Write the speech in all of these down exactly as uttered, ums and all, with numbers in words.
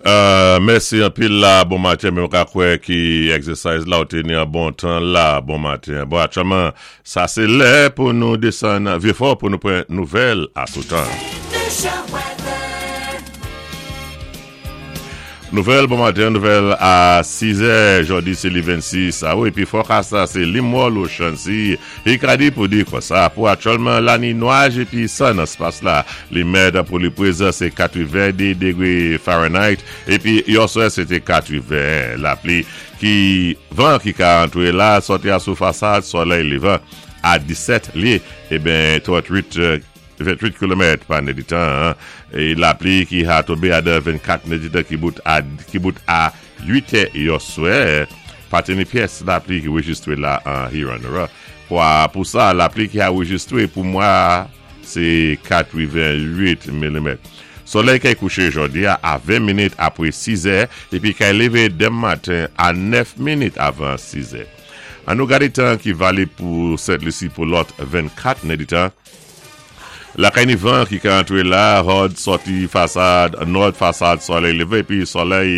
Euh, mèsi anpil la, bon maten, mwen ka kwè ki exercise la ou te ni an bon tan la, bon maten. Bon, aktyèlman, sa sé lè pou nou désann Vyé-Fò pou nou pran nouvèl a tout tan. Weather. Nouvèl, bon maten, nouvèl a sis è, jòdi sé li vennsis, a wi, épi forecast la sé Limwòl ou Chansi, i ka di pou di konsa, pou aktyèlman la ni nwaj épi san nan spas la, li mèt pou li pwézan sé katwenndé dégwé Fahrenheit, épi yèswa sé té katreven. Lapli ki van ki ka antré la, sòti a sou fasad solèy lévan a disèt lyé, eben tranntwit ventwit kilomèt pa nèditan, é lapli ki a tonbé a de vennkat nèditan ki bout a ki bout a uit è yèswa, pa té ni pyès lapli ki rejistwé la an Hewanorra. Kwa pou sa, lapli ki a rejistwé pou mwa sé katrevenwit milimèt. Solèy kay kouché jòdi a a ven minit apwé sis è épi kay lévé denmen maten a nèf minit avan sis è. An nou gadé tan ki valib pou Sent Lisi pou lòt vennkat nèditan. Lakay ni van ki ka antré la, hòd sòti fasad, nòd fasad solèy lévé, épi solèy,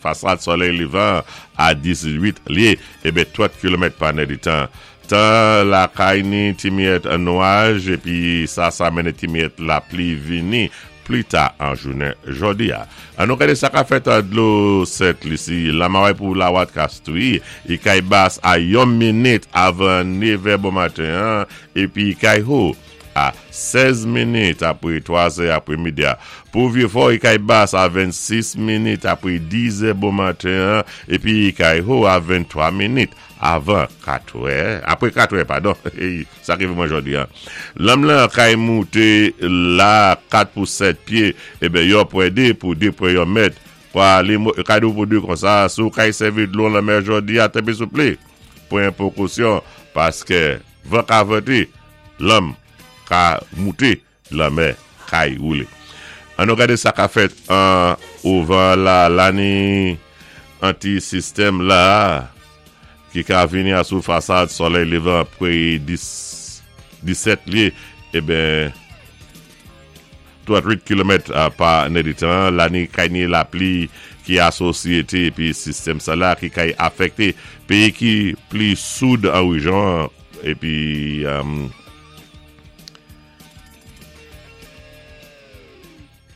fasad solèy lévan a dizuit lyé, eben trant kilomèt pa nèditan. Tan lakay ni ti miyèt nwaj, épi sa sa mennen ti miyèt lapli vini pli ta an jounen jòdi a. An nou gadé sa ka fèt an dlo Sent Lisi, lamaway pou Lawat Kastwi, i kay bas a yon minit avan nevè bon maten, épi kay ho a sèz minit apwé twa è apwé midi. Pou Vyé-Fò, i kay bas a vennsis minit apwé diz è bon maten, épi kay ho a venntwa minit avan kat è, apwé kat è, padon, sa ki mwen jòdi a. Lanm lan kay mouté la kat pou sèt pyé, eben yon pwen dé pou dé pwen yon mèt. Kwa li kay dou pou dé konsa, si ou kay sèvi dlo lanmè jòdi a, tanpwi souplé. Pran pwékosyon, paské van ka vanté, lanm ka mouté, lanmè kay woulé. An nou gadé sa ka fèt an ouvan la lani anti-sistèm la ki ka vini a sou fasad solèy lévan pwé disèt lyé, eben tranntwit kilomèt pa nèditan, lani kay ni lapli ki asosyété épi sistèm sa la ki kay afèkté péyi ki pli soud an wéjyon épi um,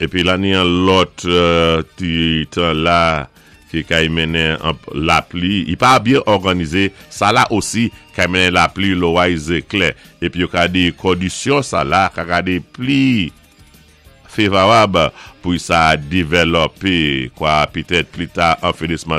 épi la ni an lòt euh, ti tan la ki kay mennen lapli, i pa byen òganizé, sa la osi kay mennen lapli loway zéklè. Épi yo ka di kondisyon sa la ka gadé pli févwab pou sa dévlopé kwa pitèt pli ta an finisman.